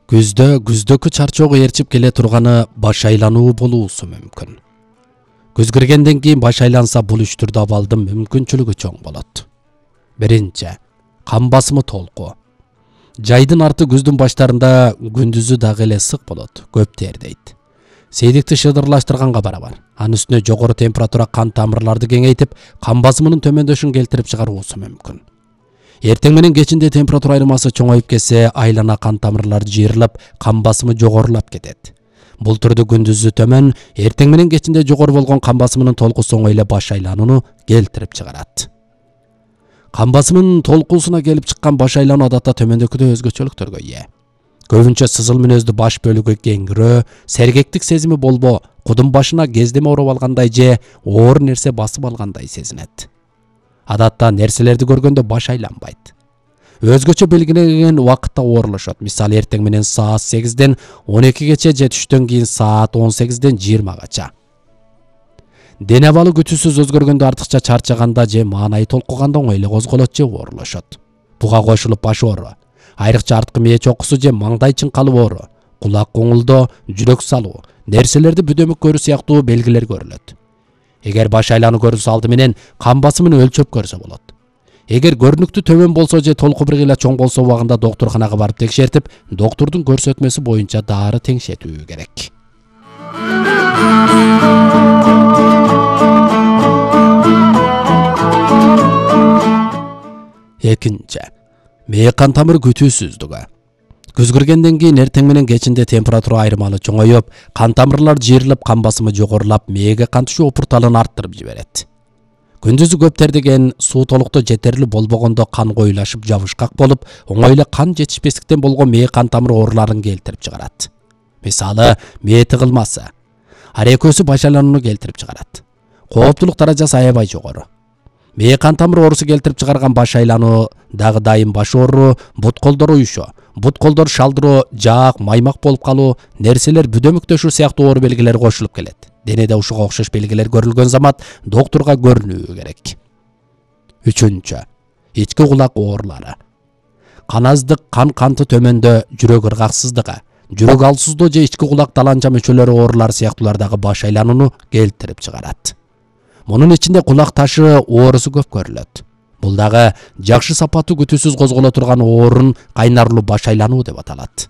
Күздөгү чарчоого ээрчип келе турганы баш айлануу болуусу мүмкүн. Күз киргенден кийин баш айланса бул үч түрдүү абалдын мүмкүнчүлүгү чоң болот. Биринчи, кан басымы толку. Жайдын арты күздүн баштарында күндүзү дагы эле ысык болот, көп тердейт. Сейдикти шыдырлаштырганга барабар. Анын үстүнө жогору температура кан тамырларды кеңейтип, кан басымынын төмөндөшүн келтирип чыгаруусу мүмкүн. Эртең менен кечинде температура айырмасы чоңоюп кетсе, айлана кан тамырлары жыйрылып, кан басымы жогорулап кетет. Бул түрдө күндүзү төмөн, эртең менен кечинде жогору болгон кан басымынын толкусу оңой эле баш айланууну келтирип чыгарат. Кан басымынын толкуусуна келип чыккан баш айлануу адатта төмөндөгүдөй өзгөчөлүктөргө ээ. Көбүнчө сызыл мүнөздүү баш бөлүгү кеңирөө, сергектик сезими болбо, кудун башына кездеме ороп алгандай же оор нерсе басып алгандай сезинет. Адатта нерселерди көргөндө баш айланбайт. Өзгөчө белгиленген убакытта оорулушат. Мисалы эртең менен саат 8ден 12гече же түштөн кийин саат 18ден 20гача. Дене абалы күтүүсүз өзгөргөндө, артыкча чарчаганда же маанайы толкуганда оңой эле козголот же оорулушат. Буга кошулуп баш оору, айрыкча арткы мээ чокусу же маңдай чыңкалып оору, кулак коңулдоо, жүрөк салуу, нерселерди бүдөмүк көрүү сыяктуу белгилер көрүлөт. Эгер баш айлануу көрүлсө, алды менен кан басымын өлчөп көрсө болот. Эгер көрүнүктүү төмөн болсо же толку бир кыйла чоң болсо, убагында доктурканага барып текшертип, доктурдун көрсөтмөсү боюнча дары теңшетүү керек. Экинчи, мээ кан тамыр күтүүсүздүгү. Күз киргенден кийин эртең менен кечинде температура айырмалы чоңоюп, кан тамырлар жыйрылып, кан басымы жогорулап, мээге кан түшүү опурталын арттырып жиберет. Күндүзү көп тердеген, суу толуктуу жетерлүү болбогондо кан коюлашып, жабышкак болуп, оңой эле кан жетишпестиктен болгон мээ кан тамыр ооруларын келтирип чыгарат. Мисалы, мээ тыгылмасы. Ар экөөсү баш айланууну келтирип чыгарат. Кооптулук даражасы аябай жогору. Мээ кан тамыр оорусу келтирип чыгарган баш айлануу дагы дайым баш оору, бут колдор уюшу, бут колдор шалдыроо, жаак, маймак болуп калуу, нерселер бүдөмүктөшүү сыяктуу оору белгилери кошулуп келет. Денеде ушуга окшош белгилер көрүлгөн замат доктурга көрүнүү керек. Үчүнчү, ички кулак оорулары. Кан аздык, кан канты төмөндө, жүрөк ыргаксыздыгы, жүрөк алсыздоо же ички кулак таланча мүчөлөрү оорулары сыяктуулардагы баш айланууну келтирип чыгарат. Мунун ичинде кулак ташы оорусу көп көрүлөт. Бул дагы жакшы сапаттуу күтүүсүз козголо турган оорун кайнарлуу баш айлануу деп аталат.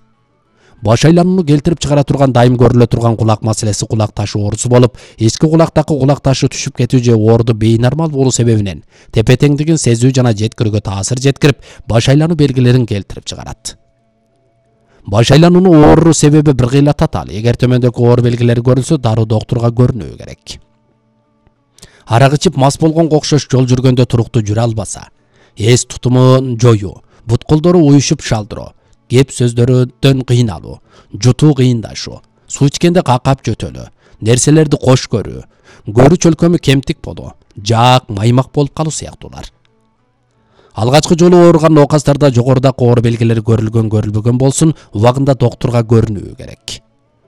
Баш айланууну келтирип чыгара турган, дайым көрүлө турган кулак маселеси кулак ташы оорусу болуп, ички кулактагы кулак ташы түшүп кетүү же оорду бейнормал болуу себебинен тепе теңдигин сезүү жана жеткирүүгө таасир жеткирип, баш айлануу белгилерин келтирип чыгарат. Баш айлануунун оору себеби бир кыйла татаал. Эгер төмөндөгү оору белгилери көрүлсө, дароо доктурга көрүнүү керек. Арак ичип мас болгонго окшош жол жүргөндө туруктуу жүрө албаса, эс тутумун жоюу, бут колдору уюшуп шалдыроо, кеп сөздөрдөн кыйналуу, жутуу кыйындашуу, суу ичкенде какап жөтөлүү, нерселерди кош көрүү, көрүү чөлкөмү кемтик болуу, жаак, маймак болуп калуу сыяктуулар. Алгачкы жолу ооруган оокастарда жогорудагы оору белгилери көрүлбөгөн болсун, убагында доктурга көрүнүү керек.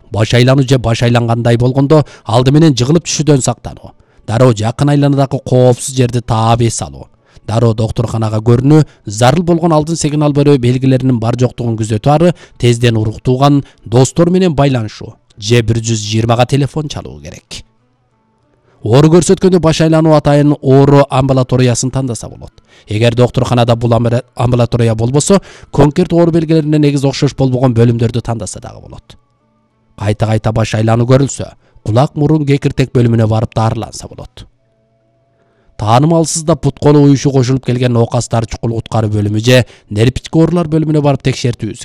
Баш айлануу же баш айлангандай болгондо, алды менен жыгылып түшүүдөн сактануу, дароо жакын айланадагы коопсуз жерди таап эс алуу, дароо доктурканага көрүнүү, зарыл болгон алдын сигнал берүү белгилеринин бар жоктугун күзөтүү ары тезден уруктууган достор менен байланышуу же 120га телефон чалуу керек. Оору көрсөткөндө баш айлануу атайын оору амбулаториясын тандаса болот. Эгер доктурканада бул амбулатория болбосо, конкрет оору белгилерине негиз окшош болбогон бөлүмдөрдү тандаса дагы болот. Кайта баш айлануу көрүлсө, кулак мурун кекиртек бөлүмүнө барып дарыланса болот. Таанымалсызда бут колу уюшу кошулуп келген оокастар чукул куткаруу бөлүмү же нервтик оорулар бөлүмүнө барып текшертүүсү